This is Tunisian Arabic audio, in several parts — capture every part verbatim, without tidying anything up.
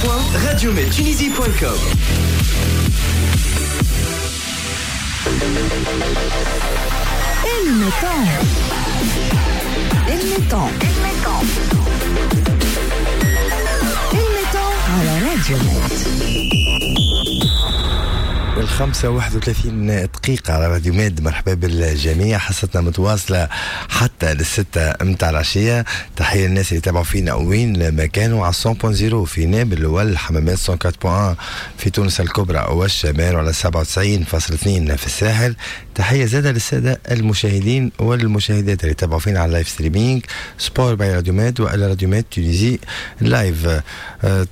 دبليو دوت راديو ميد تونيزي دوت كوم. الميتون الميتون الميتون على راديو ميد. الخمسة واحد وثلاثين دقيقة على راديو ميد. مرحبا بالجميع، حصتنا متواصلة حتى للستة متاع العشية. تحية للناس اللي تابعوا فينا وين ما كانوا على مية فاصلة صفر في نابل والحمامات، مية وأربعة فاصلة واحد في تونس الكبرى والشمال، وعلى سبعة وتسعين فاصلة اثنين في الساحل. تحية زادة للسادة المشاهدين والمشاهدات اللي تابعوا فينا على ال live streaming sport by راديو ميد وعلى راديو ميد Tunisie live.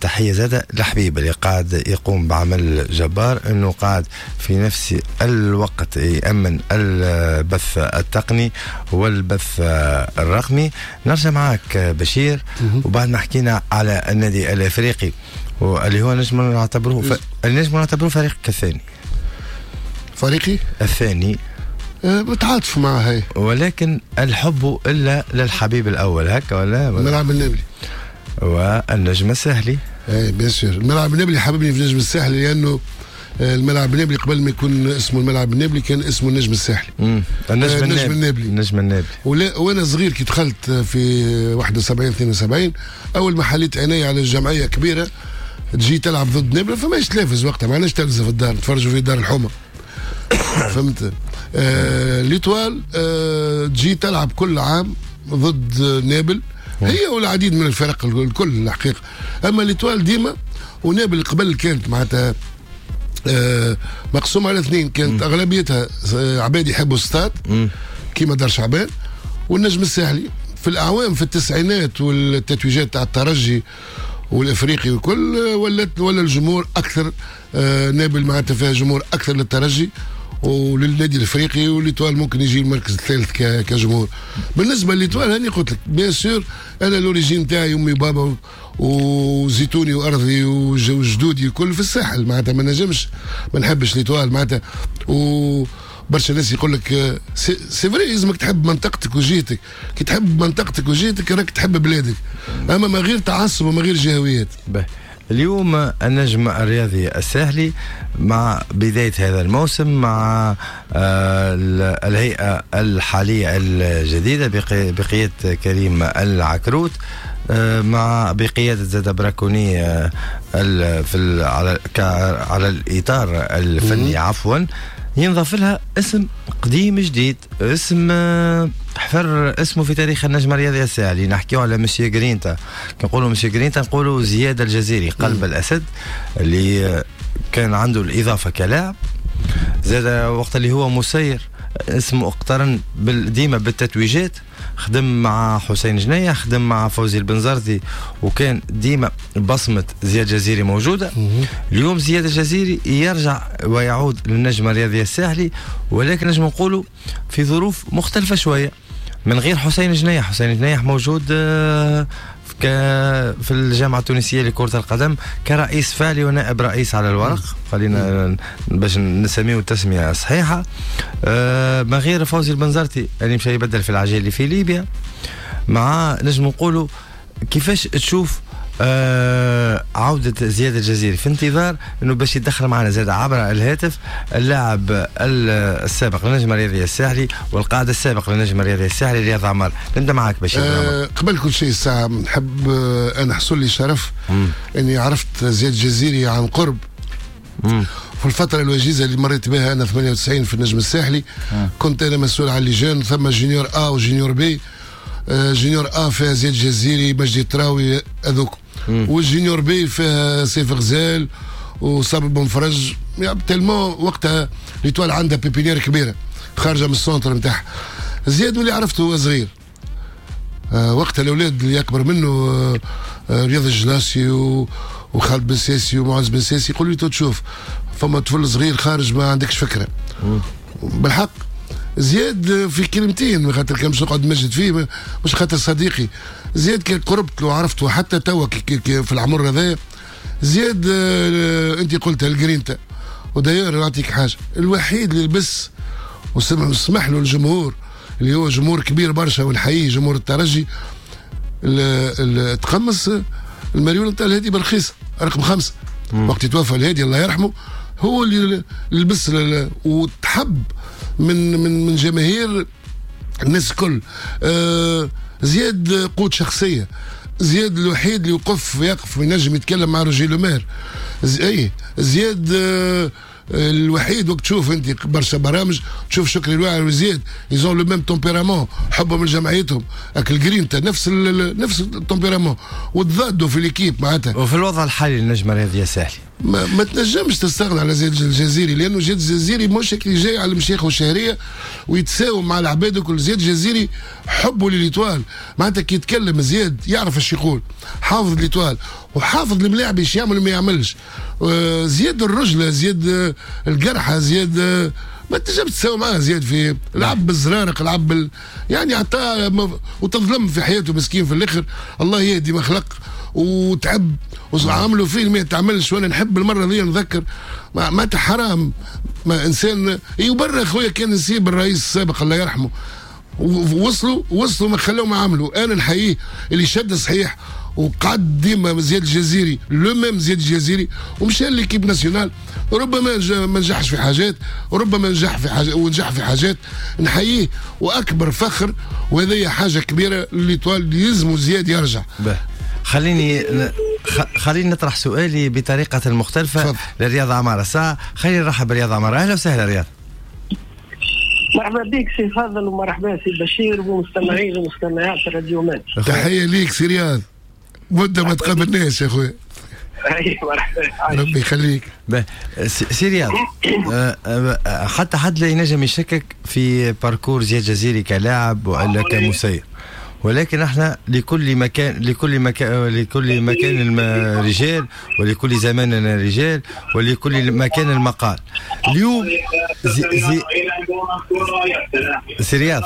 تحية زادة لحبيب اللي قاعد يقوم بعمل جبار، انه قاعد في نفس الوقت يأمن البث التقني والبث الرقمي. نرجع معك بشير، وبعد ما حكينا على النادي الافريقي واللي هو نجم نعتبروه ف... نجم نعتبروه فريق الثاني، فريقي الثاني متعاطف معه هي، ولكن الحب الا للحبيب الاول هكا ولا الملعب النابلي والنجم الساحلي. اي bien sûr الملعب النابلي حببني في النجم الساحلي، لانه الملعب النابلي قبل ما يكون اسمه الملعب النابلي كان اسمه النجم الساحلي. امم النجم, النجم النابلي. النجم النابلي. ولا وانا صغير كي دخلت في واحد وسبعين اثنين وسبعين اول ما حليت عيني على الجمعية كبيرة تجي تلعب ضد نابل، فماش تلفز وقتها، ما عندناش تلفزه في الدار، نتفرجوا في دار الحومه. فهمت؟ آه l'Étoile آه تجي تلعب كل عام ضد نابل هي والعديد من الفرق الكل الحقيقة. اما l'Étoile ديما ونابل قبل كانت معناتها آه مقسوم على اثنين، كانت اغلبيتها عباد يحبوا الستاد كيما دار شعبان والنجم الساحلي. في الاعوام في التسعينات والتتويجات تاع الترجي والافريقي وكل ولات ولا الجمهور اكثر آه نابل معناتها فيها جمهور اكثر للترجي وللنادي الافريقي، و l'Étoile ممكن يجي المركز الثالث كجمهور. بالنسبة ل l'Étoile هاني قلت لك bien sûr انا l'origine تاعي امي وبابا وزيتوني وارضي وجدودي الكل في الساحل، معناتها ما نجمش ما نحبش l'Étoile معناتها. وبرشا ناس يقول لك c'est vrai لازمك تحب منطقتك وجهتك، كي تحب منطقتك وجهتك راك تحب بلادك، اما ما غير تعصب وما غير جهويات. اليوم النجم الرياضي الساحلي مع بداية هذا الموسم مع الهيئة الحالية الجديدة بقيادة كريم العكروت، مع بقيادة زاد براكوني في على على الإطار الفني عفوا، ينضاف لها اسم قديم جديد، اسم حفر اسمه في تاريخ النجم الرياضي الساحلي. نحكيو على مسيو جرينتا، كنقولوا مسيو جرينتا نقولوا زياد الجزيري قلب الأسد اللي كان عنده الإضافة كلاعب، زاد وقت اللي هو مسير اسمه اقترن ديما بالتتويجات، خدم مع حسين جنيح، خدم مع فوزي البنزرتي، وكان ديما بصمة زياد الجزيري موجودة. اليوم زياد الجزيري يرجع ويعود للنجم الرياضي الساحلي، ولكن نجم نقولوا في ظروف مختلفة شوية من غير حسين جنيح. حسين جنيح موجود في الجامعة التونسية لكرة القدم كرئيس فعلي ونائب رئيس على الورق، خلينا باش نسميه التسمية الصحيحة، من غير فوزي البنزرتي اللي مشى يبدل في العجالي في ليبيا. مع نجم نقولوا كيفاش تشوف آه عودة زياد الجزيري في انتظار انه باش يدخل معنا زاد عبر الهاتف اللاعب السابق للنجم الرياضي الساحلي والقائد السابق للنجم الرياضي الساحلي رياض عمار. نبدا معاك بشير. آه قبل كل شيء الساعة نحب آه انا حصل لي شرف مم. اني عرفت زياد الجزيري عن قرب. مم. في الفترة الوجيزة اللي مريت بها انا ثمانية وتسعين في النجم الساحلي. مم. كنت انا مسؤول على les jeunes، ثم junior A و junior B. junior A فيها زياد الجزيري، مجدي تراوي هذوك، وال junior B فيها سيف غزال وصابر بن فرج. يعني tellement وقتها l'Étoile عندها pépinière كبيرة خارجه من ال centre نتاعها. زياد اللي عرفته هو صغير، آه وقتها الاولاد اللي اكبر منه آه رياض الجلاسي وخالد بن ساسي ومعز بن ساسي يقولوا لي تشوف فما طفل صغير خارج ما عندكش فكرة. مم. بالحق زياد في كلمتين خاطر كان مش نقعد نمجد فيه، مش خاطر صديقي زياد كي قربت له عرفته حتى توا في العمر هذايا. زياد آه انت قلتها الجرينتا، وداير نعطيك حاجة، الوحيد اللي لبس وسمح له الجمهور اللي هو جمهور كبير برشا ونحييه جمهور الترجي تقمص المريول نتاع الهادي بالرخيص رقم خمسة. وقت توفى الهادي الله يرحمه هو اللي لبس وتحب من من من جماهير الناس الكل. آه زياد قوت شخصية، زياد الوحيد اللي يوقف يقف وينجم يتكلم مع روجي لومير. اي زياد آه الوحيد وقت تشوف انت برشا برامج تشوف شكري الواعر وزياد ils ont le même tempérament، حبهم لجمعيتهم، اك الجرينتا نفس ال نفس ال tempérament وتضادوا في l'équipe معناتها. وفي الوضع الحالي للنجم الرياضي الساحلي ما, ما تنجمش تستغنى على زياد الجزيري، لانه زياد الجزيري مش اللي جاي على المشيخ والشهريه ويتساوم مع العباد وكل. زياد الجزيري حبه ل l'Étoile معناتها كي يتكلم زياد يعرف اش يقول، حافظ l'Étoile وحافظ الملاعب ايش يعمل وما يعملش. آه زياد الرجله، زياد الجرحه، زياد ما تنجمش تساوي معاه. زياد في لعب بالزرارق، لعب بال... يعني عطاه وتظلم في حياته مسكين في الاخر، الله يهدي ما خلق وتعب وعملوا فيه ما تعملش. وانا نحب المرة دي نذكر ما, ما حرام ما انسان يبرر خويا كان نسيب الرئيس السابق الله يرحمه، وصلوا وصلوا ما خلوه ما عملوا. انا نحييه اللي شد صحيح وقعد ديما زياد الجزيري le même زياد الجزيري ومشى l'équipe nationale، ربما ما نجحش في حاجات وربما نجح في حاجات ونجح في حاجات، نحييه واكبر فخر وهذه حاجة كبيرة l'Étoile يلزموا زياد يرجع. به. خليني خليني نطرح سؤالي بطريقة مختلفة لرياض عمارة. ساعة خليني نرحب برياض عمارة. اهلا وسهلا رياض. مرحبا بك سي فاضل ومرحبا سي بشير ومستمعين ومستمعات راديو ماد. تحية ليك سي رياض، مده ما تقابلناش يا خويا. اي مرحبا، ربي يخليك. سي رياض، حتى حد لا ينجم يشكك في parcours زياد جزيري كلاعب والا كمسير، ولكن احنا لكل مكان لكل مكان لكل مكان رجال ولكل زمان رجال ولكل مكان المقال. اليوم زي زي سي رياض،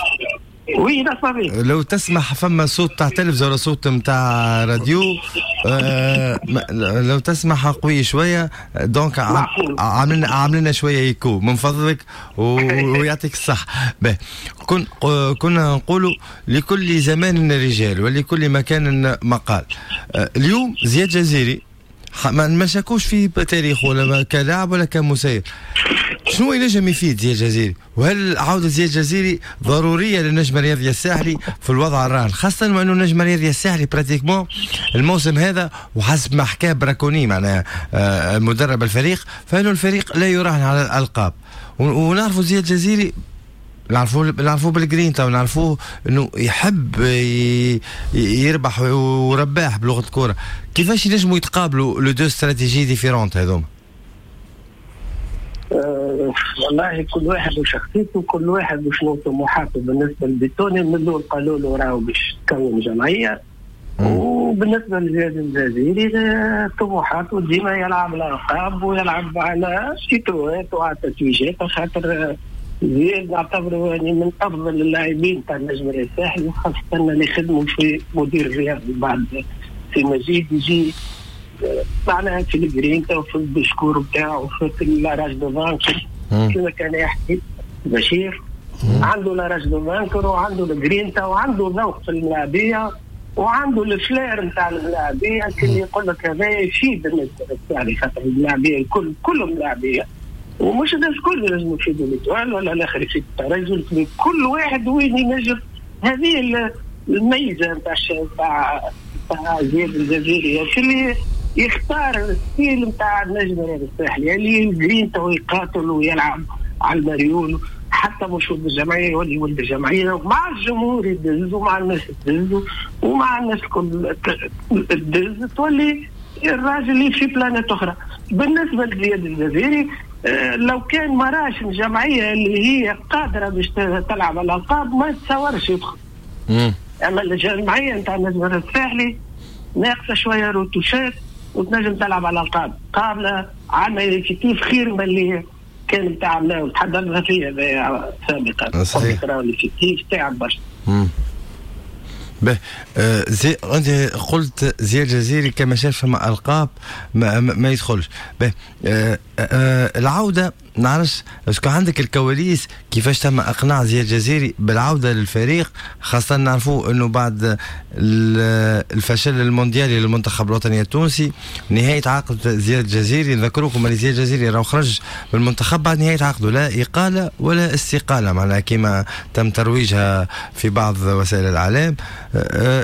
oui نسمع بيك. لو تسمح فما صوت تاع تلفزيون ولا صوت نتاع راديو، آه لو تسمح قوي شوية، donc عاملنا عاملنا شوية ايكو من فضلك ويعطيك الصح. به كن كنا نقولوا لكل زمان رجال ولكل مكان مقال. آه اليوم زياد جزيري ما شكوش في تاريخه ولا كلاعب ولا كمسير، شنو ينجم يفيد زياد جزيري؟ وهل عودة زياد جزيري ضرورية للنجم الرياضي الساحلي في الوضع الراهن، خاصة وأنه النجم الرياضي الساحلي pratiquement الموسم هذا وحسب ما حكاه براكوني معناها مدرب الفريق، فإنه الفريق لا يراهن على الألقاب، ونعرفوا زياد جزيري نعرفوه نعرفوه بالجرينتا ونعرفوه انه يحب يربح ورباح بلغة الكرة. كيفاش ينجموا يتقابلوا les deux stratégies différentes هذوما؟ أه والله كل واحد وشخصيته، كل واحد وشنو طموحاته. بالنسبة لبيتوني من الاول قالوا له راهو باش تكون جمعية، وبالنسبة لزياد الجزيري طموحاته ديما يلعب الالقاب ويلعب على تيتروات وعلى تتويجات، خاطر زياد نعتبره يعني من افضل اللاعبين تاع النجم الساحلي، وخاصة اللي خدموا في مدير الرياضي بعد في مجيد يجي معناها في الجرينتا وفي ال discours بتاعه وفي la rage de vaincre كما كان يحكي بشير. عنده la rage de vaincre وعنده الجرينتا وعنده ذوق في الملاعبيه وعنده ال flair نتاع الملاعبيه، كل يقول لك هذا يفيد النجم الساحلي خاطر الملاعبيه الكل كلهم ملاعبيه، ومش الناس الكل لازم يفيدوا l'Étoile ولا الاخر يفيد الترجي، كل واحد وين ينجم. هذه الميزة نتاع نتاع نتاع زياد الجزيري اللي يختار ال style نتاع النجم الرياضي الساحلي اللي الجرينتا ويقاتل ويلعب على المريول، حتى مش ولد الجمعية يولي ولد الجمعية، مع الجمهور يدز ومع الناس تدز ومع الناس الكل تدز، تولي الراجل اللي في planète اخرى. بالنسبة لزياد الجزيري لو كان ما راش الجمعية اللي هي قادرة باش تلعب على الالقاب ما يتصورش يدخل. اما الجمعية نتاع النجم الساحلي ناقصه شوية روتوشات وتنجم تلعب على الالقاب، قابله عندنا effectif خير من اللي كان نتاع تحضرنا فيه سابقا. صحيح l'effectif تعب برشا. به آه زي انت قلت زياد الجزيري كما شاف فما القاب ما, ما, ما يدخلش. به آه آه العودة نعرفش est-ce que عندك الكواليس كيفاش تم اقناع زياد الجزيري بالعودة للفريق، خاصة نعرفوا انه بعد الفشل المونديالي للمنتخب الوطني التونسي نهاية عقد زياد الجزيري، نذكركم ان زياد الجزيري راه خرج من المنتخب بعد نهاية عقده، لا اقاله ولا استقالة معناها كما تم ترويجها في بعض وسائل الاعلام.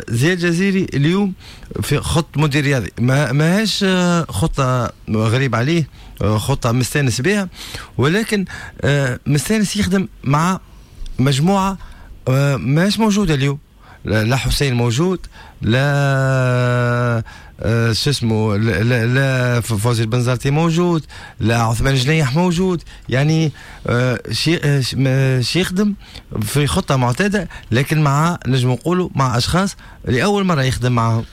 زياد الجزيري اليوم في خط مدير رياضي ما ماهيش خطه غريب عليه، خطه مستانس بها، ولكن مستانس يخدم مع مجموعة ماهيش موجودة اليوم، لا حسين موجود، لا شو اسمه، لا, لا فوزي البنزرتي موجود، لا عثمان جنيح موجود، يعني شيء شي يخدم في خطه معتادة، لكن مع نجم نقولوا مع اشخاص لاول مرة يخدم معهم.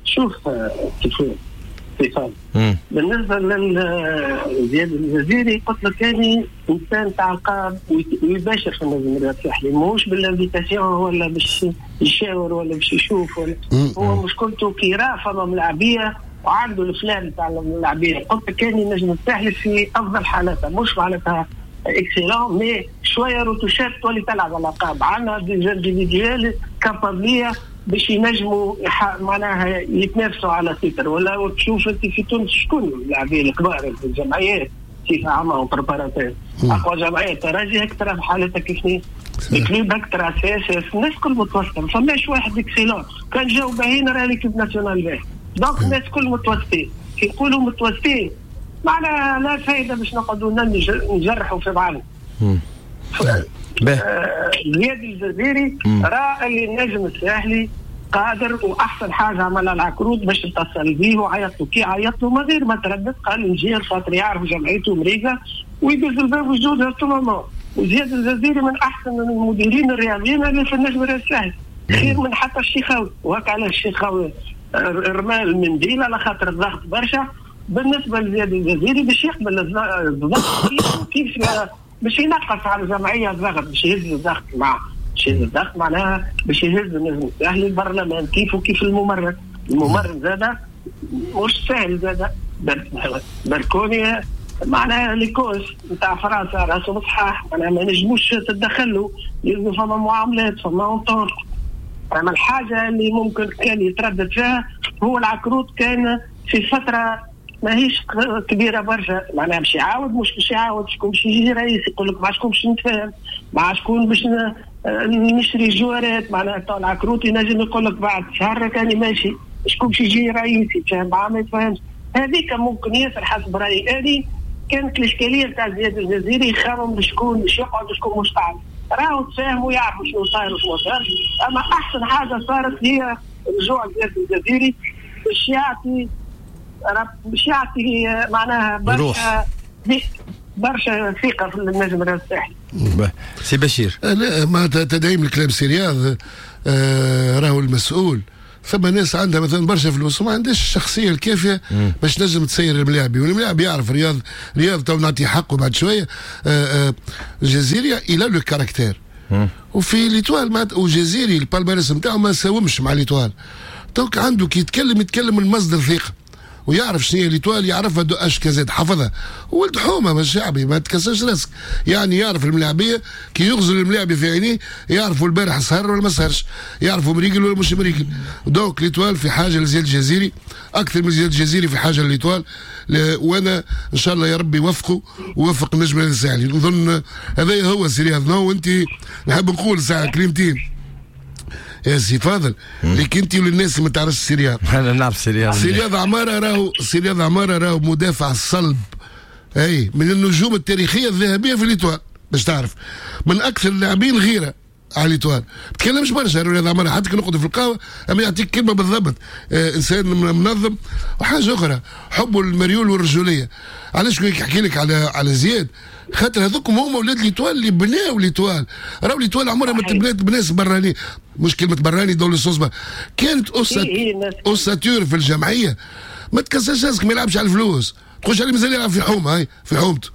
شوف كيف كيف بالنسبة لزياد الجزيري قلت لك كان انسان تاع القاب ويباشر في النجم الرياضي الساحلي، ماهوش بال invitation ولا باش يشاور ولا باش يشوف ولا هو مشكلته كي راه فما ملاعبيه وعنده الفلان تاع الملاعبيه. قلت لك كان النجم الساحلي في افضل حالاته، مش معناتها excellent mais شوية retouchات تولي تلعب على القاب، عندنا des individuels capables باش ينجموا معناها يتنافسوا على titre. ولا تشوف انت في تونس شكون اللاعبين الكبار في الجمعيات كيف عملوا préparateur، اقوى جمعية الترجي هيك ترى في حالتها كيف ال Club هيك ترى CSS، الناس الكل متوسطه، ما فماش واحد excellent، كان جاو باهين راه l'équipe nationale باهي، donc الناس الكل متوسطين. كي نقولوا متوسطين معناها لا فايده باش نقعدوا نجرحوا في بعضنا. زياد الجزيري راه اللي النجم الساحلي قادر، واحسن حاجة عملها العكروت باش اتصل بيه وعيط له، كي عيط له من غير ما تردد قال نجي خاطر يعرف جمعيته مريقه ويدز الباب وجودها تماما. وزياد الجزيري من احسن المديرين الرياضيين اللي في النجم الساحلي، خير من حتى الشيخاوي، وهكا علاش الشيخاوي رمى المنديل على خاطر الضغط برشا. بالنسبة لزياد الجزيري باش يقبل الضغط كيف باش ينقص على الجمعية الضغط، باش يهز الضغط مع باش يهز الضغط معناها باش يهز النجم الساحلي البرلمان كيف وكيف الممرن. الممرن زاده مش سهل زاده، بركوني معناها les coachs نتاع فرنسا راسهم صحاح، معناها ما نجموش تدخلوا، يلزم فما معاملات فما entente. اما الحاجة اللي ممكن كان يتردد فيها هو العكروت، كان في فترة ماهيش كبيرة برشا، معناها باش يعاود مش باش يعاود، شكون باش يجي رئيس يقول لك مع شكون باش نتفاهم، مع شكون باش نشري جوارات، معناها تو العكروت ينجم يقول لك بعد شهر كان ماشي، شكون باش يجي رئيس يتفاهم معاه ما يتفاهمش. هذيك ممكن ياسر حسب رايي اني كانت الاشكالية تاع زياد الجزيري يخمم بشكون باش يقعد وشكون مش قاعد، راهو تفاهموا يعرفوا شنو صاير وشنو صار. اما احسن حاجة صارت هي رجوع زياد الجزيري باش يعطي باش يعطي معناها برشا برشا ثقة في النجم الساحلي. سي بشير، لا ما تدعيم الكلام سي رياض، آه راهو المسؤول. ثم ناس عندها مثلا برشا فلوس وما عندهاش الشخصية الكافيه باش تنجم تسير الملاعب، والملاعب يعرف رياض رياض تو نعطي حقه بعد شوية. آه آه الجزيري il a le caractère، وفي l'Étoile وجزيري ال palmarès نتاعو ما ساومش مع l'Étoile، donc عنده كي يتكلم يتكلم من مصدر ثقة ويعرف شنو هي l'Étoile، يعرفها de A jusqu'à Z، حفظها ولد حومه مش شعبي، ما تكسرش راسك، يعني يعرف الملاعبيه كي يغزل الملاعبي في عينيه يعرفوا البارح سهر ولا ما سهرش، يعرفوا مريقل ولا مش مريقل. donc l'Étoile في حاجة لزياد الجزيري اكثر من زياد الجزيري في حاجة ل l'Étoile، وانا ان شاء الله يا ربي يوفقه ويوفق النجم الساحلي. نظن هذا هو سي رياض. وانت نحب نقول ساعة كلمتين يا سي فاضل لك انت وللناس اللي ما تعرفش سي رياض. انا نعرف سي رياض. سي رياض عمارة راهو سي رياض عمارة راهو مدافع صلب، اي من النجوم التاريخية الذهبية في l'Étoile، باش تعرف من اكثر اللاعبين غيره على l'Étoile. ما تكلمش برشا رياض عمارة، حتى كي نقعدوا في القهوة اما يعطيك كلمة بالضبط. آه انسان منظم. وحاجه اخرى حبه للمريول والرجوليه. علاش كي نحكي لك على على زياد؟ خاطر هذوكم هما اولاد l'Étoile اللي بناو l'Étoile. راهو l'Étoile عمرها ما تبنات بناس براني، مش كلمة براني dans le sens، كانت ossature في الجمعية. ما تكسرش راسك، ما يلعبش على الفلوس، تخش عليه مازال يلعب في حومه، هاي في حومته.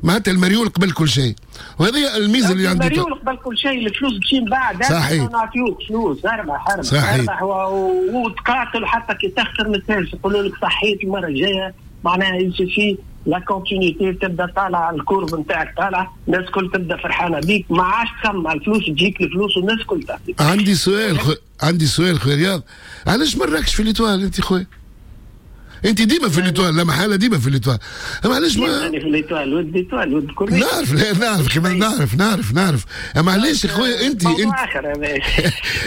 معناتها المريول قبل كل شيء، وهذه الميزة اللي عندي. المريول قبل كل شيء، الفلوس تمشي من بعد. صحيح، نعطيوك فلوس اربح اربح اربح وتقاتل حتى كي تخسر ما تنساش يقولوا لك صحيت المرة الجاية، معناها يمشي. la continuité تبدا طالعه، ال courbe نتاعك طالعه، الناس الكل تبدا فرحانة بيك، ما عادش تخمم على الفلوس، تجيك الفلوس والناس الكل تعطيك. عندي سؤال خو... عندي سؤال خويا رياض، علاش ما راكش في l'Étoile انت خويا؟ انت ديما في l'Étoile، لا محالة ديما في l'Étoile، اما علاش ما في l'Étoile ولد l'Étoile ولد كل نعرف لا نعرف كمان نعرف نعرف نعرف اما علاش يا خويا انت انت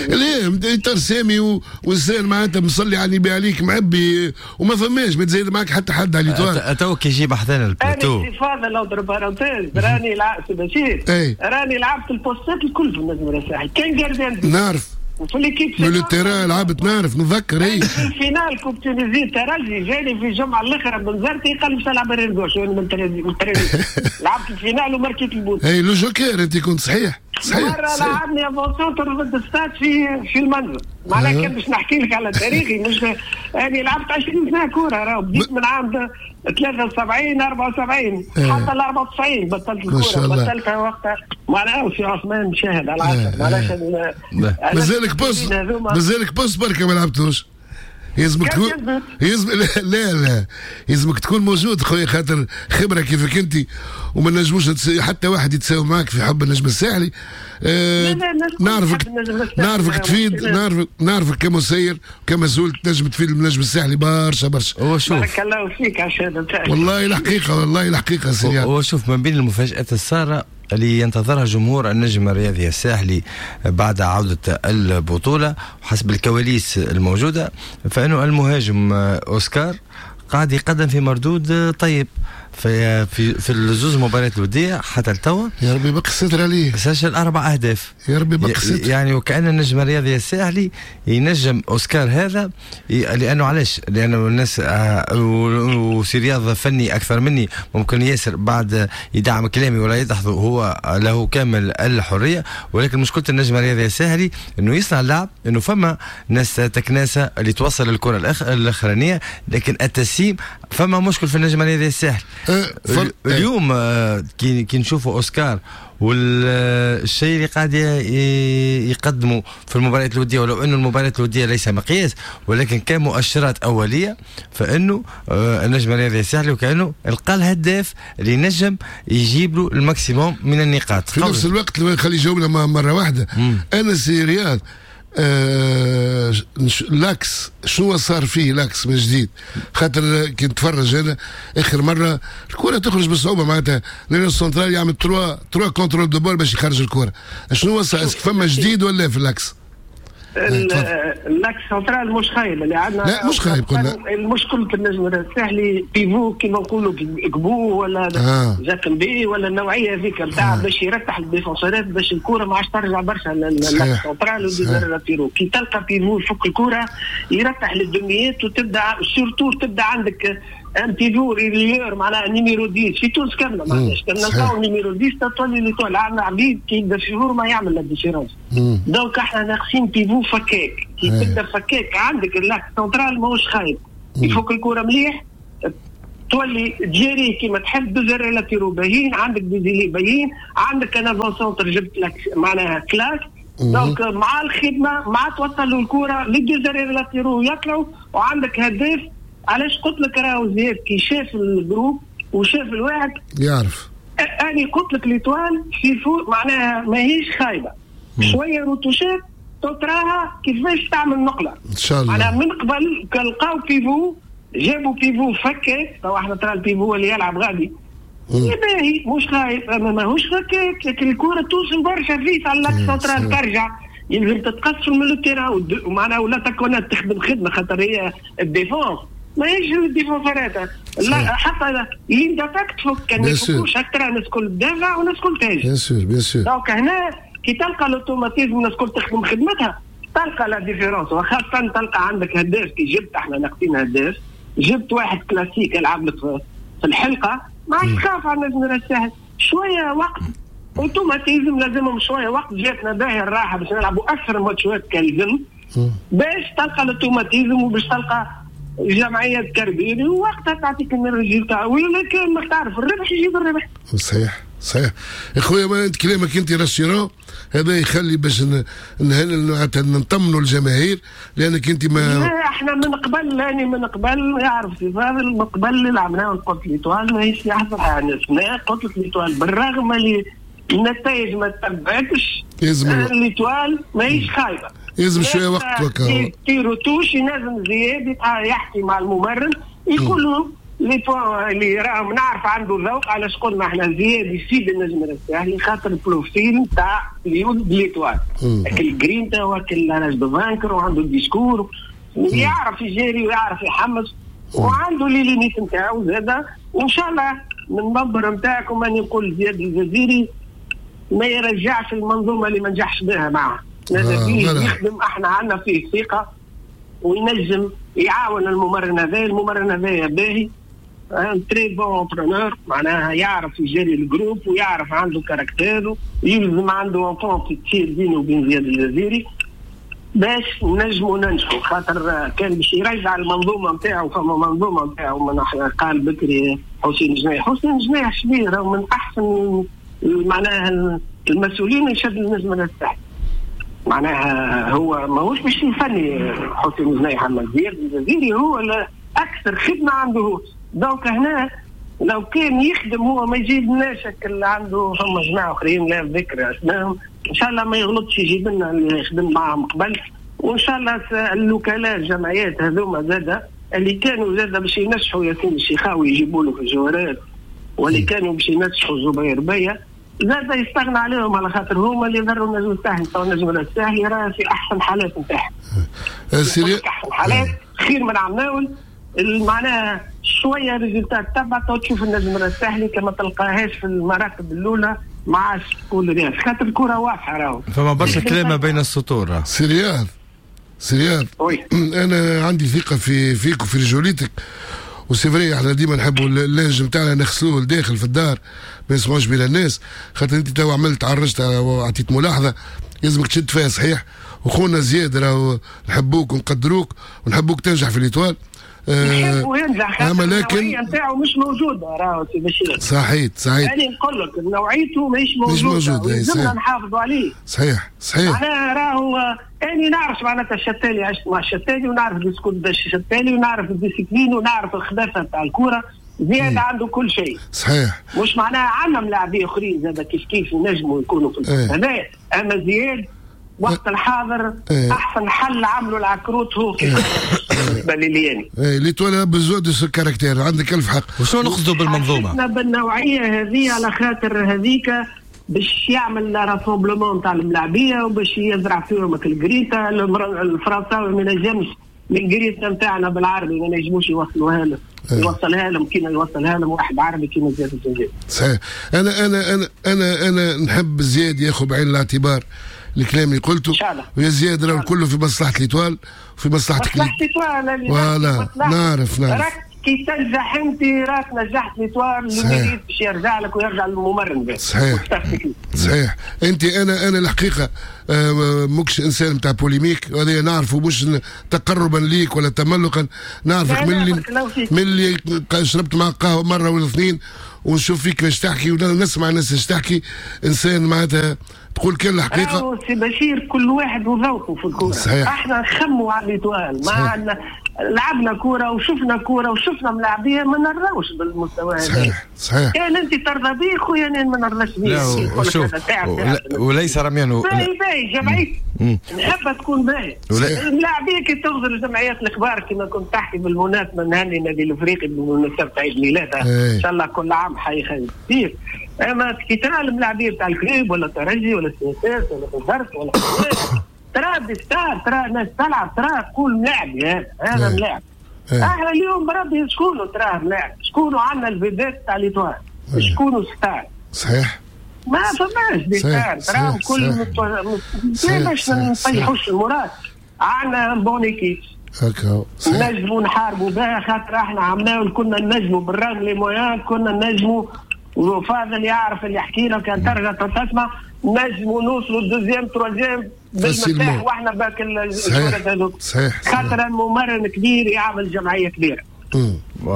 ليه انت سامي والزين معناتها مصلي على النبي عليك معبي وما فماش ما تزيد معك حتى حد على l'Étoile. تو كي يجي بحذانا البلاتو انا فاضل لو ضرب parenthèse راني لعبت بشير راني لعبت البوستات الكل في النجم الساحلي كان gardien نعرف وفي l'équipe من ال terrain لعبت نعرف نتذكر اي في ال finale coupe Tunisie ترجي جاني في الجمعة الاخرى بنزرتي قال باش نلعب arrière gauche وانا من الترجي لعبت ال finale وماركيت ال but. اي le joker انت كنت صحيح صحيح مرة لعبني avant-centre ضد الستاد في في المنزل معناها كان باش نحكي لك على تاريخي مش انا لعبت عشرين سنة كورة راهو بديت من عام ثلاثة وسبعين أربعة وسبعين حتى ال أربعة وتسعين بطلت الكورة بطلتها وقتها معناها وسي عثمان شاهد على العشرة معناها مازالك poste مازالك poste بركة ما لعبتوش يلزمك تكون يلزم لا لا يلزمك تكون موجود خويا خاطر خبره كيفك انت وما نجموش حتى واحد يتساوي معك في حب النجم الساحلي. آه نعرفك نعرفك تفيد نعرفك نعرفك كمسير كمسؤول تنجم تفيد النجم الساحلي برشا برشا. هو شوف بارك الله فيك عشان والله الحقيقة والله الحقيقة سي هو شوف من بين المفاجآت الساره اللي ينتظرها جمهور النجم الرياضي الساحلي بعد عودة البطولة وحسب الكواليس الموجودة فإنه المهاجم أوسكار قاعد يقدم في مردود طيب في في في الزوز مباريات الودية حتى لتوا. يا ربي بقى الستر عليه سجل اربع اهداف يا ربي بقى الستر يعني وكأن النجم الرياضي الساحلي ينجم اوسكار هذا لانه علاش؟ لانه الناس وسي رياض فني اكثر مني ممكن ياسر بعد يدعم كلامي ولا يدحضه هو له كامل الحرية، ولكن مشكلة النجم الرياضي الساحلي انه يصنع اللعب، انه فما ناس تكناسه اللي توصل الكره الاخرانية، لكن التسليم فما مشكل في النجم الرياضي الساحلي. أه اليوم كي كي نشوفوا اوسكار والشيء اللي قاعد يقدمه في المباريات الودية، ولو انه المباريات الودية ليس مقياس ولكن كمؤشرات اوليه، فانه النجم الرياضي الساحلي وكانه لقى الهداف اللي نجم يجيب له ال maximum من النقاط. في نفس الوقت خلي يجاوبنا مرة واحدة. مم. انا سي رياض آه l'axe شنو صار فيه l'axe من جديد؟ خاطر كي نتفرج انا اخر مرة الكره تخرج بصعوبة، معناتها لان السنترال يعمل trois trois contrôles de balle باش يخرج الكره. شنو صار؟ فما جديد ولا في l'axe؟ l'axe central مش خايب اللي عندنا. لا مش خايب قلنا المشكلة النجم الساحلي pivot كيما نقولوا كبو ولا آه. جاكمبي ولا النوعية هذيك نتاع آه. باش يرتح ال défenseur ات باش الكره ما عادش ترجع برشا لل axe central وال deux arrières latéraux. كي تلقى pivot يفك الكره يرتح للدميات وتبدا surtout تبدا عندك un pivot relayeur معناها numéro عشرة في تونس كاملة معناها نلقاو numéro عشرة تولي l'Étoile عندنا عبيد كي يبدا في ما يعمل la différence. donc احنا ناقصين pivot فكاك. كي تبدا فكاك عندك l'axe central ماهوش خايب يفك الكره مليح تولي تجري كيما تحب deux arrières latéraux باهيين عندك deux ailiers باهيين عندك un avant-centre جبت لك معناها classe. donc مع الخدمة مع توصلوا الكره les deux arrières latéraux يطلعوا وعندك هداف. علاش قلت لك راهو زياد كي شاف ال groupe وشاف الواحد يعرف. انا قلت لك l'Étoile في فوق معناها ماهيش خايبة شوية retouch ات تراها كيفاش تعمل نقله ان شاء الله. معناها من قبل لقاو pivot جابوا pivot فكاك تو احنا ترى ال pivot اللي يلعب غادي باهي مش خايب اما ماهوش فكاك، لكن الكره توصل برشا vite على l'axe central ترجع يلزم تتقص من ال terrain ومعناها ولا تكون تخدم خدمة خاطر هي ال défense ماهيش ال défenseur ات لا حتى ligne d'attaque تفك كان ما يفكوش اكثر الناس الكل تدافع والناس الكل تهاجم. bien sûr bien sûr. donc هنا كي تلقى l'automatisme الناس الكل تخدم خدمتها تلقى la différence، وخاصة تلقى عندك هداف. كي جبت احنا ناقصين هداف جبت واحد كلاسيك يلعب لك في الحلقة ما عادش تخاف على النجم الساحل. شوية وقت automatisme لازمهم شوية وقت. جاتنا باهي الراحة باش نلعبوا اكثر ماتشات كالزم باش تلقى l'automatisme وباش تلقى جمعية كربيري ووقتها تعطيك ال résultat، ولا كان ما تعرف الربح يجيب الربح. صحيح. صحيح يا خويا، ما انت كلامك انت rassurant، هذا يخلي باش نطمنوا الجماهير، لانك انت ما احنا من قبل، لاني من قبل يعرف سي فاضل، من قبل اللي لعبناه قلت l'Étoile ماهيش يحضر حاجة، قلت l'Étoile بالرغم اللي النتائج ما تبعتش l'Étoile ماهيش خايبة، لازم شوية وقت وكا تيرو touche، لازم زياد يحكي مع الممرن يقول له les points اللي راهم نعرف عنده ذوق. علاش قلنا احنا زياد يسيب النجم الساحلي خاطر ال profil تاع l'Étoile، الجرينتا وكل rage de vaincre، وعنده ال discours ويعرف يجاري ويعرف يحمس وعنده les limites نتاعو زاده. وان شاء الله من المنبر نتاعكم اني نقول زياد الجزيري ما يرجعش المنظومة اللي ما نجحش بها معه، لازم يخدم، احنا عندنا فيه ثقة وينجم يعاون الممرن هذا، الممرن هذا باهي un très bon entraîneur، معناها يعرف يجري ال groupe ويعرف عنده caractère، يلزم عنده entente تصير بينه وبين زياد الجزيري باش نجموا ننجحوا، خاطر كان باش يرجع المنظومة نتاعو، فما منظومة نتاعو من قال بكري حسين جناح، حسين جناح شبيه من احسن معناها المسؤولين اللي شد النجم الساحلي، معناها هو ماهوش باش يفني حسين جناح، اما زياد الجزيري هو اكثر خدمة عنده هو. donc هنا لو كان يخدم هو ما يجيبناش اللي عنده، فما جماعة اخرين لا ذكر اسمائهم، ان شاء الله ما يغلطش يجيب لنا اللي خدم معاهم قبل، وان شاء الله الوكلاء الجمعيات هذوما زاده اللي كانوا زاده باش ينجحوا ياسين الشيخاوي يجيبوا له في الجوارات، واللي كانوا باش ينجحوا زبير بيا زاده يستغنى عليهم، على خاطر هما اللي ضروا النجم الساحلي. تو النجم الساحلي راه في احسن حالات نتاعهم، احسن حالات خير من عمناول، معناها شوية résultats تبع تشوف النجم الساحلي كما تلقاهاش في المراتب الاولى ما عادش تقول رياض، خاطر الكره واضحة راهو فما برشا كلام بين السطور. سي رياض، سي رياض انا عندي ثقة في فيك وفي رجوليتك، و c'est vrai احنا ديما نحبوا ال linge نتاعنا نغسلوه لداخل في الدار ما يسمعوش بين الناس، خاطر انت تو عملت عرجت وعطيت ملاحظة لازمك تشد فيها صحيح. وخونا زياد راهو نحبوك ونقدروك ونحبوك تنجح في l'Étoile، نحبه ينجح، اما لكن النوعية نتاعو مش موجودة راهو سي بشير. صحيح صحيح، يعني نقول لك نوعيته مش موجودة، لازمنا نحافظوا عليه. صحيح صحيح، معناها راهو اني نعرف معناتها الشتالي، عشت مع الشتالي ونعرف discours الشتالي ونعرف ال discipline ونعرف الخباثه نتاع الكورة، زياد عنده كل شيء. صحيح، مش معناها عندنا ملاعبين اخرين زاد كيف كيف ينجموا يكونوا في هذا، اما زياد وقت الحاضر ايه. احسن حل عملوا العكروت هو بالنسبة لي يعني. ايه l'Étoile a besoin de ce caractère، عندك الف حق. وشنو نقصدوا بالمنظومه؟ احنا بالنوعيه هذه على خاطر هذيك باش يعمل rassemblement تاع الملاعبيه وباش يزرع فيهم الجريتا، الفرنساوي ما نجمش الجريتا نتاعنا بالعربي ما نجموش يوصلوها له، يوصلها لهم كيما يوصلها لهم واحد عربي كيما زياد الجزيري. صحيح، انا انا انا انا انا نحب زياد ياخذ بعين الاعتبار الكلام اللي قلته، ويا زياد راه كله في مصلحة l'Étoile وفي مصلحتك. مصلحة l'Étoile voilà، نعرف نعرف راك كي تنجح انت راك نجحت l'Étoile اللي باش يرجع لك ويرجع للممرن. صحيح صحيح، انت انا انا الحقيقة ماكش انسان نتاع polémique، وهذا نعرفه مش تقربا ليك ولا تملقا، نعرفك من اللي من اللي شربت معك قهوة مرة ولا اثنين ونشوف فيك اش تحكي ونسمع الناس اش تحكي، انسان معناتها تقول كل الحقيقة. سي بشير كل واحد وذوقه في الكورة. صحيح، احنا نخموا على l'Étoile، ما عندنا لعبنا كورة وشفنا كورة وشفنا ملاعبيه ما نرضاوش بالمستوى هذا. صحيح صحيح، كان انت ترضى به خويا انا ما نرضاش به. شوف وليس رميا باهي باهي جمعية نحبها تكون باهي الملاعبيه كي تغزر الجمعيات الكبار كما كنت تحكي بالمناسبة نهني النادي الافريقي بمناسبة عيد ميلاده ان شاء الله كل عام حي خير كثير، اما كي ترى الملاعبيه تاع ال Club ولا الترجي ولا ال CSS ولا الزرق ولا ترى des stars، ترى ناس تلعب، ترى تقول ملاعب هذا هذا ملاعب. احنا اليوم بربي شكونوا تراه ملاعب، شكونوا عندنا ال vedettes تاع l'Étoile، شكونوا star. صحيح، ما فماش des stars، تراهم كل باش ما نطيحوش المراد، عندنا bonne équipe هكا نجموا نحاربوا بها، خاطر احنا عملناه كنا نجموا بالرغم les moyens كنا نجموا، وفاضل يعرف اللي يحكي لك كان ترجع تسمع نجموا نوصلوا ال deuxième troisième بالمفتاح واحنا باك الجولات هذوك. صحيح، خاطر الممرن كبير يعمل جمعية كبيرة،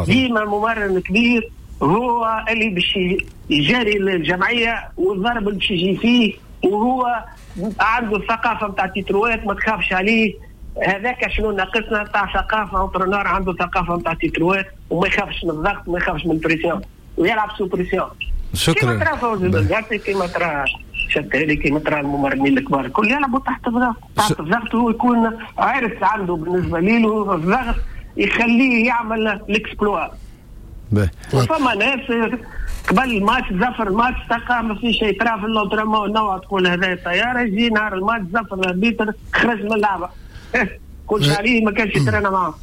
ديما ممرن كبير هو اللي باش يجاري الجمعية والضرب اللي باش يجي فيه، وهو عنده الثقافة نتاع تيتروات ما تخافش عليه. هذاك شنو ناقصنا نتاع ثقافة، entraîneur عنده ثقافة نتاع تيتروات وما يخافش من الضغط وما يخافش من ال pression ويلعب sous pression. شكرا. كيما ترى فوزي البنزرتي، كيما ترى شتالي، كيما ترى الممرنين الكبار الكل يلعبوا تحت الضغط، تحت الضغط هو يكون عارف عنده بالنسبة ليه الضغط يخليه يعمل l'exploit. وفما ناس قبل الماتش زفر الماتش تلقى ما في شيء، ترى في l'entraînement نوع تقول هذا الطيارة، يجي نهار الماتش زفر l'arbitre خرج من اللعبة كل شيء عليه ما كانش يترانا معاه.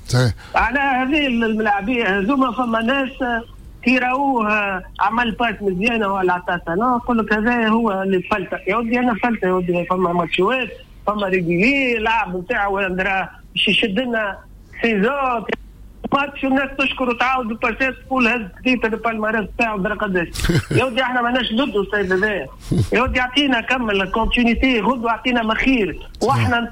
على هذه الملاعبيه هذوما فما ناس كي راوه عمل passe مزيانه ولا عطاها نقول لك هذا هو اللي فلته، يا ودي انا فلته يا ودي. فما ماتشوات فما régulier لعب نتاعو باش يشد لنا saison match والناس تشكر وتعاود الباسات تقول هز titre ال palmarès تاعو درا قداش. يا ودي احنا ماناش ضده السيد هذايا، يا ودي اعطينا كمل continuité غدوه اعطينا مخير واحنا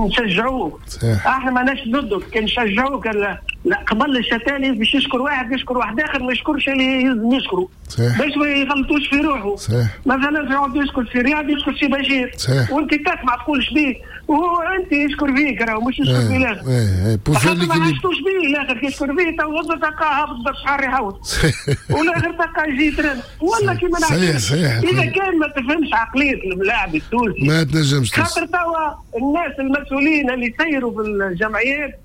نشجعوه. احنا ماناش ضده كان نشجعوه. لا قبل الشتالي باش يشكر واحد يشكر واحد اخر، ما يشكرش اللي يلزم يشكره باش ما يغلطوش في روحه. صحيح. مثلا يقعد يشكر في رياض يشكر في بشير. صحيح. وانت تسمع تقول شبيه وهو انت يشكر فيك راهو مش يشكر في الاخر. ايه ايه ما عشتوش بيه الاخر كي يشكر فيه تو غدوه تلقاه هابط بالشعر يحوط والاخر تلقاه يجي ترن ولا كيما نحكي. صحيح صحيح. اذا كان ما تفهمش عقلية اللاعب التونسي ما تنجمش، خاطر توا الناس المسؤولين اللي يسيروا في الجمعيات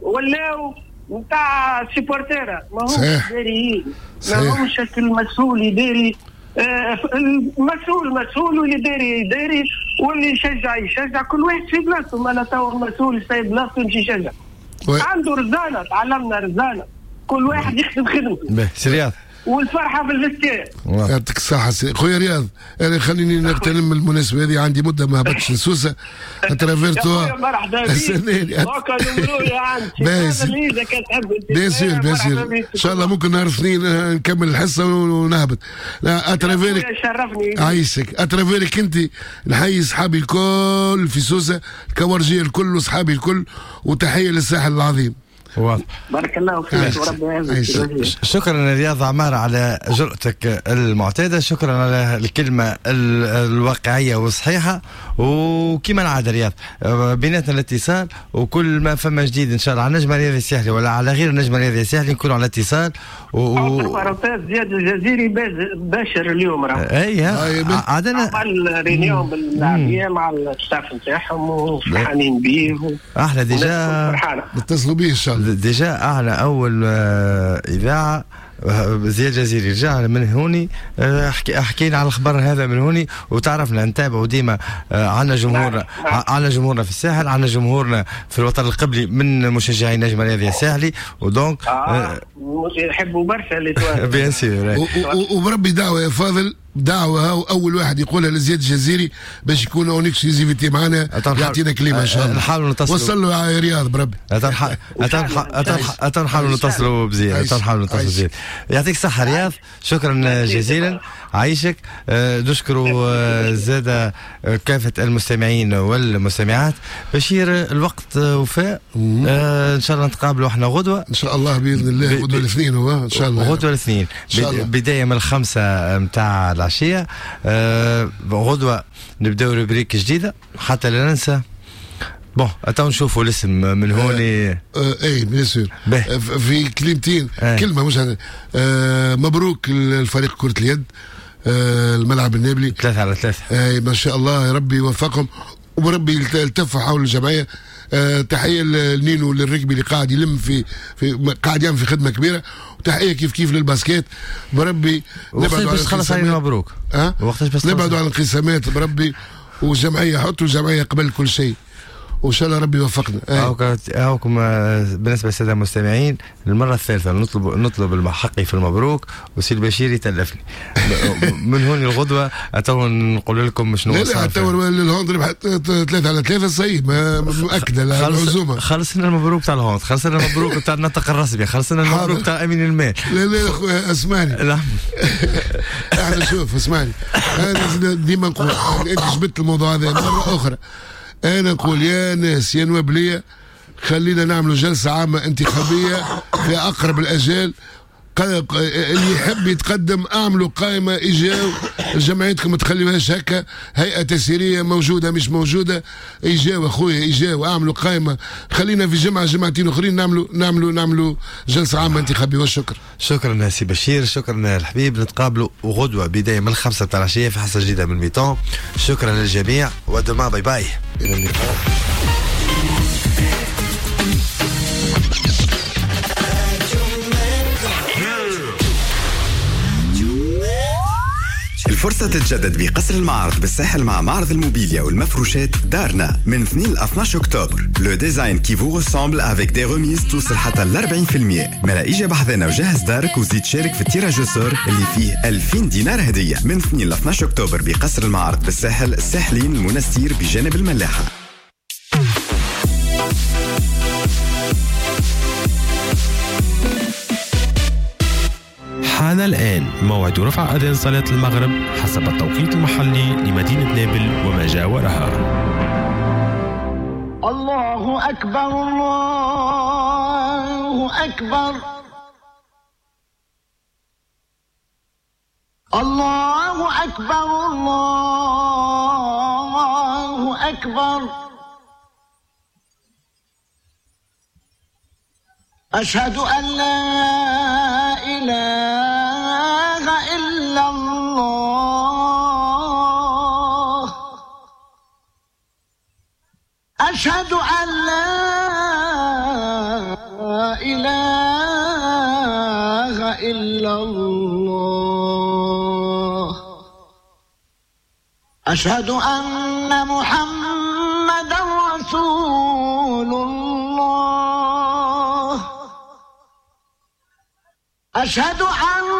ولاو نتاع supporters، ما همش داريين، ما همش المسؤول يداري. آه المسؤول مسؤول واللي داري يداري واللي يشجع يشجع، كل واحد في بلاصته. ما لا تو المسؤول يسيب بلاصته يمشي يشجع، عنده رزانه، تعلمنا رزانه، كل واحد يخدم خدمته. باهي سي رياض، والفرحه في ال vestiaire. يعطيك الصحة خويا رياض. أنا خليني نغتنم المناسبة هذه، عندي مدة ما هبطتش لسوسة à travers toi. مرحبا بك. bien sûr bien sûr، إن شاء الله ممكن نهار اثنين نكمل الحصة ونهبط. لا à travers ك شرفني عايشك، à travers ك أنت نحيي صحابي الكل في سوسة، الكورجية الكل وصحابي الكل، وتحية للساحل العظيم. واضح. بارك الله فيك وربي يعزك. شكرا رياض عمار على جرأتك المعتادة، شكرا على الكلمة الواقعية والصحيحة. وكما العادة رياض بيناتنا الاتصال، وكل ما فما جديد إن شاء الله على النجم الرياضي الساحلي ولا على غير النجم الرياضي الساحلي نكونوا على اتصال. و زياد الجزيري باشر اليوم راه. اي عادنا عمل réunion باللاعبيه مع ال staff نتاعهم وفرحانين بيه. احنا déjà نتصلوا بيه ان شاء الله. déjà احنا اول اذاعة زياد جزيري رجع من هوني، حكينا على الخبر هذا من هوني وتعرفنا نتابعوا ديما. عندنا جمهورنا، عندنا جمهورنا في الساحل، عندنا جمهورنا في الوطن القبلي من مشجعي نجم الرياضي الساحلي، و donc آه يحبوا برشا اللي bien sûr. وبربي دعوه يا فاضل، دعوه اول واحد يقولها لزياد الجزيري باش يكون en exclusivité معنا، يعطينا كلمة ان شاء الله. نحاولوا نتصلوا، وصل له يا رياض بربي. نحاولوا نتصلوا بزياد، نحاولوا نتصلوا بزياد. يعطيك الصحة رياض، شكرا جزيلا، عايشك. نشكروا زاد كافة المستمعين والمستمعات. بشير الوقت وفاء، ان شاء الله نتقابلوا احنا غدوه ان شاء الله باذن الله. غدوه الاثنين هو ان شاء الله، غدوه الاثنين بداية من الخمسة نتاع العشية. غدوه نبداو rubrique جديدة حتى لا ننسى. bon اتو نشوفوا الاسم من هوني. آه اي bien sûr في كلمتين. آه. كلمة مش آه مبروك الفريق كره اليد، آه الملعب النابلي ثلاثة على ثلاثة. آه ما شاء الله، ربي يوفقهم وربي يلتف حول الجمعية. آه تحية لنينو للركبي اللي قاعد يلم في في قاعد يعمل في خدمة كبيرة، وتحية كيف كيف لل basket. بربي نبعدوا على الانقسامات. مبروك. أه؟ نبعدوا على الانقسامات بربي، والجمعية حطوا الجمعية قبل كل شيء، وان شاء الله ربي يوفقنا. هاكم بالنسبة للسادة المستمعين المرة الثالثة نطلب نطلب حقي في المبروك، وسي البشير يتلفني من هون الغدوه. اتو نقول لكم شنو لا لا، تو ال hand ربحت ثلاثة على ثلاثة صحيح، مؤكدة العزومة. خلصنا المبروك تاع ال hand، خلصنا المبروك تاع النطق الرسمي، خلصنا المبروك تاع امين المال. لا لا خويا اسمعني. لا احنا شوف اسمعني، انا ديما نقول انت جبت الموضوع هذا مرة اخرى. أنا نقول يا ناس يا نوابلية، خلينا نعملوا جلسة عامة انتخابية في أقرب الأجال. اللي يحب يتقدم اعملوا قائمة، اجاو جمعيتكم ما تخليوهاش هكا، هيئة تسييريه موجودة مش موجودة، اجاو اخويا اجاو اعملوا قائمة، خلينا في جمعه جمعتين اخرين نعملوا نعملوا نعملوا جلسه عامة انتخابية. والشكر. شكرا سي بشير، شكرا الحبيب، نتقابلوا غدوه بداية من الخمسة تاع العشية في حصة جديدة من mi-temps. شكرا للجميع و demain bye bye. الى اللقاء. الفرصة تتجدد بقصر المعارض بالساحل مع معرض الموبيليا والمفروشات دارنا من اثنين ل اثناش أكتوبر. le design qui vous ressemble avec des remises توصل حتى ل أربعين بالمية. ملا إجا بحذنا وجهز دارك وزيد شارك في ال tirage au sort اللي فيه ألفين دينار هدية من اثنين ل اثناش أكتوبر بقصر المعارض بالساحل، الساحلين المنستير بجانب الملاحة. حان الآن موعد رفع أذان صلاة المغرب حسب التوقيت المحلي لمدينة نابل وما جاورها. الله أكبر الله أكبر الله أكبر الله أكبر. أشهد أن لا إله إلا الله. أشهد أن لا إله إلا الله. أشهد أن محمدا رسول الله. أشهد أن